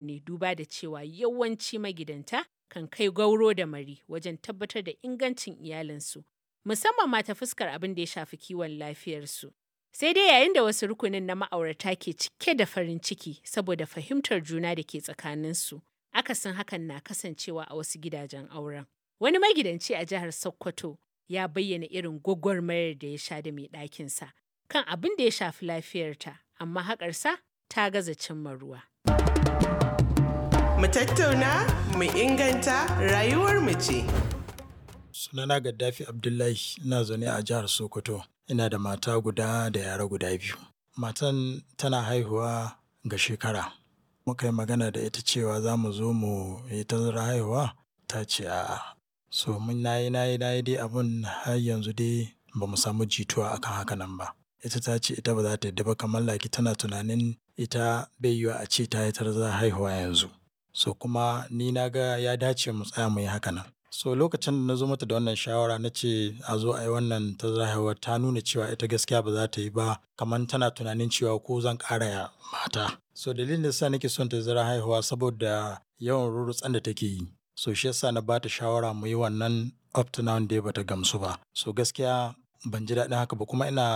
ne, duba da cewa yawanci magidanta kan kai gauro da mari wajen tabbatar da ingancin iyalinsu, musamman ma ta fuskar abin da ya shafi kiwon lafiyarsu. Sai dai yayin da wasu rukunin na ma'aurata ke cike da farin ciki saboda fahimtar juna da ke tsakaninsu, akasin hakan na kasancewa a wasu gidajen auren. Wani magidanci a jihar Sokoto ya bayyana irin gwagwarmayar da ya sha da mai ɗakinsa kan abin da ya shafi lafiyarta, amma haƙarsa ta gaza cimma ruwa. Mu tattauna, mu inganta rayuwar mu ce. Sunana Gaddafi Abdullahi, ina zaune a jihar Sokoto. Ina da mata guda da yara guda biyu. Matan tana haihuwa ga shekara. Muka yi magana da ita cewa za mu zo mu yi tazarar haihuwa, ta ce a'a. So mun nayi nayi nayi dai abun har yanzu dai ba mu samu jituwa akan haka nan ba. Ita ta ce ita ba za ta yadda ba, kamar laki tana tunanin ita bai yiwuwa a ce ta yi tazarar haihuwa yanzu. So kuma ni na ga ya dace mu tsaya mu yi haka nan. So lokacin da na zo mata da wannan shawara na ce a zo a yi wannan tazarar haihuwa, ta nuna cewa ita gaskiya ba za ta yi ba, kamar tana tunanin cewa ko zan ƙara mata. So dalilin da yasa nake son tazarar haihuwa saboda yawan rurrutsan da take yi. So shi yasa na ba ta shawara mu yi wannan, up to now dai bata gamsu ba. So gaskiya ban ji daɗin haka ba kuma ina